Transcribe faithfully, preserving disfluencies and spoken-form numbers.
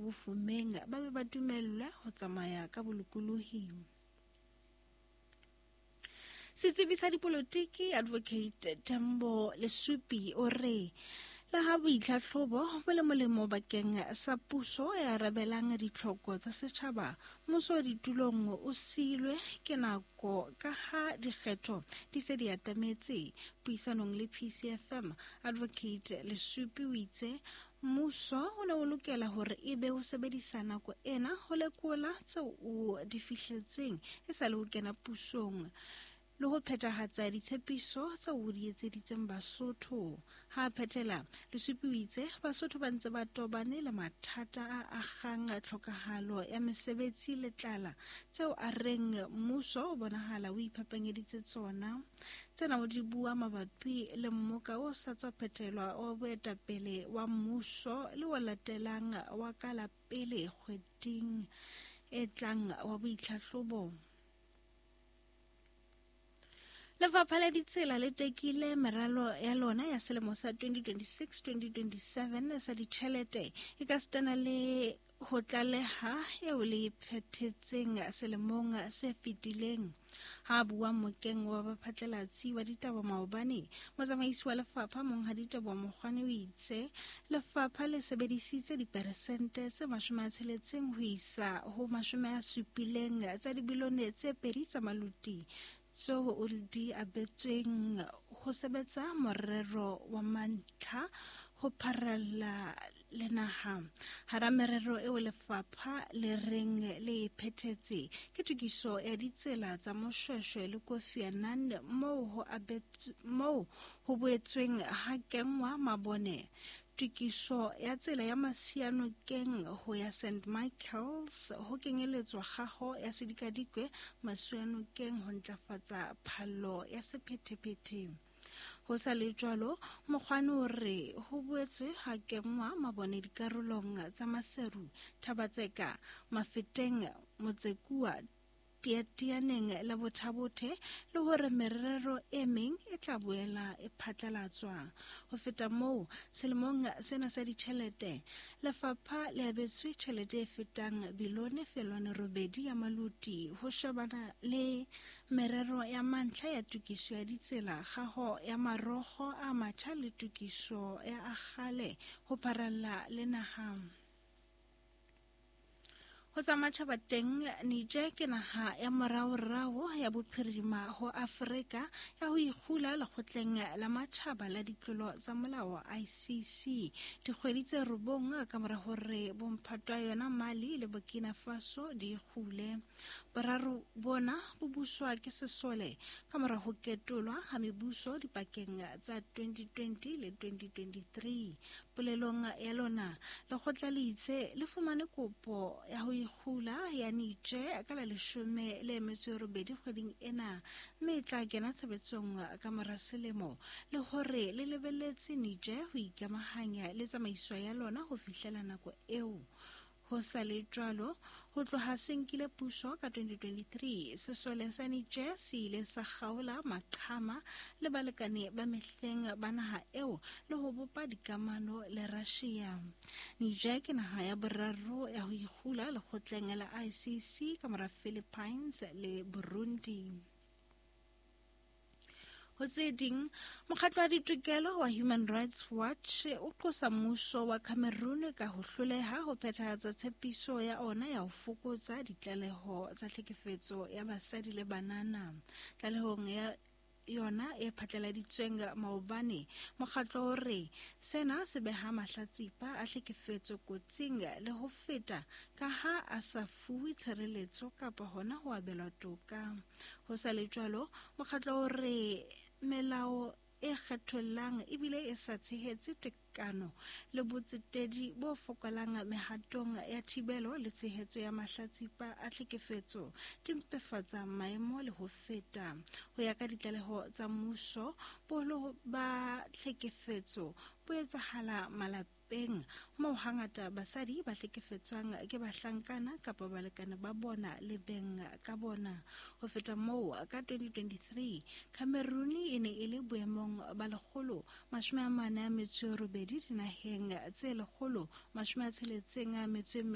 bofumeng ba be ba dumellwe ho tsamaya ka bolokolohi. Setsebi sa dipolotiki Advocate Tembo Lesupi o re le ha boitlhatlhobo bo le molemo bakeng sa puso e arabelang ditlhoko tsa setjhaba, mmuso ditulong o siilwe ke nako ka ha dikgetho di se di atametse. Puisanong le P C F M, Advocate Lesupi o itse mmuso o ne o lokela hore ebe o sebedisa nako ena ho lekola tseo o di fihletseng e sa le ho kena pusong le ho phethahatsa ditshepiso tseo o di etseditseng Basotho. Ha phethela, Lesupi o itse Basotho ba ntse ba tobane le mathata a akgang tlhokahalo ya mesebetsi le tlala tseo a reng mmuso o bonahala o iphapanyeditse tsona. Tsena o di bua mabapi le mmoka o sa tswa phethelwa wa boetapele wa mmuso le o latelang wa ka la pele kgweding e tlang wa boitlhahlobo. Lefapha la Ditsela le tekile meralo ya lona ya selemo sa twenty twenty-six twenty twenty-seven sa ditjhelete e ka sitana le ho tlaleha eo le phethetseng selemong se fetileng. Ha bua mokeng wa baphatlalatsi wa ditaba maobane, motsamaisi wa lefapha Monghadi Teboho Mokgwane o itse lefapha le sebedisitse diperesente tse mashome a tsheletseng ho isa ho mashome a supileng tsa dibilione tse pedi tsa maluti tseo o di abetsweng ho sebetsa morero wa mantlha ho pharalla le naha. Hara merero eo lefapha le reng le phethetse ke tokiso ya ditsela tsa Moshweshwe le Kofi Annan moo ho moo ho boetsweng ha kenngwa mabone, tokiso ya tsela ya Masianokeng ho ya Saint Michael's ho kenyeletswa kgaho ya sedikadikwe Masianokeng ho ntlafatsa phallo ya sephethephethe. Ho sa le jwalo, Mokgwane o re ho boetswe ha kenngwa mabone dikarolong tsa Maseru, Thabatseka, Mafeteng, Motsekua, Tiatianeng le Bothabothe, le hore merero e meng e tla boela e phatlalatswa. Ho feta moo, selemong sena sa ditjhelete, lefapha le abetswe tjhelete e fetang bilione felwane robedi ya maluti ho shebana le merero ya mantlha ya tokiso ya ditsela, kgaho ya marokgo a matjha le tokiso ya a kgale ho pharalla le naha. Ho tsa matjhaba teng, Niger ke naha ya moraorao ya bophirima ho Afrika ya ho ikgula lekgotleng la matjhaba la ditlolo tsa molao I C C dikgwedi tse robong ka mora hore bomphato wa yona Mali le Burkina Faso di ikgule. Boraro bona bo buswa ke sesole ka mora ho ketolwa ha mebuso dipakeng tsa twenty twenty le twenty twenty-three. Polelong ya lona, lekgotla le itse le fumane kopo ya ho ikgula ya Niger ka la leshome le metso e robedi kgweding ena, mme e tla kena tshebetsong ka mora selemo, le hore le lebelletse Niger ho ikamahanya le tsamaiso ya lona ho fihlela nako eo. Ho sa le jwalo, ho tloha se nkile puso ka twenty twenty-three, sesole sa Niger se ile sa kgaola maqhama le balekane ba mehleng ba naha eo le ho bopa dikamano le Russia. Niger ke naha ya boraro ya ho ikgula lekgotleng la I C C ka mora Philippines le Burundi. Ho tse ding, mokgatlo wa ditokelo wa Human Rights Watch o qosa mmuso wa Cameroon ka ho hloleha ho phethahatsa tshepiso ya ona ya ho fokotsa ditlaleho tsa tlhekefetso ya basadi le banana. Tlalehong ya yona e phatlaladitsweng maobane, mokgatlo o re sena se beha mahlatsipa a tlhekefetso kotsing le ho feta ka ha a sa fuwe tshireletso kapa hona ho abelwa toka. Ho sa le jwalo, mokgatlo o re melao e kgethollang ebile e sa tshehetse tekano le botsetedi bo fokolang mehatong ya thibelo le tshehetso ya mahlatsipa a tlhekefetso di mpefatsa maemo le ho feta. Ho ya ka ditlaleho tsa mmuso, boholo ba tlhekefetso bo etsahala malapeng moo hangata basadi ba hlekefetswang ke bahlankana kapa balekane ba bona le beng ka bona. Ho feta moo, ka twenty twenty-three Cameroon e ne e le boemong ba lekgolo mashome a mane a metso e robedi dinaheng tse lekgolo mashome a tsheletseng a metso e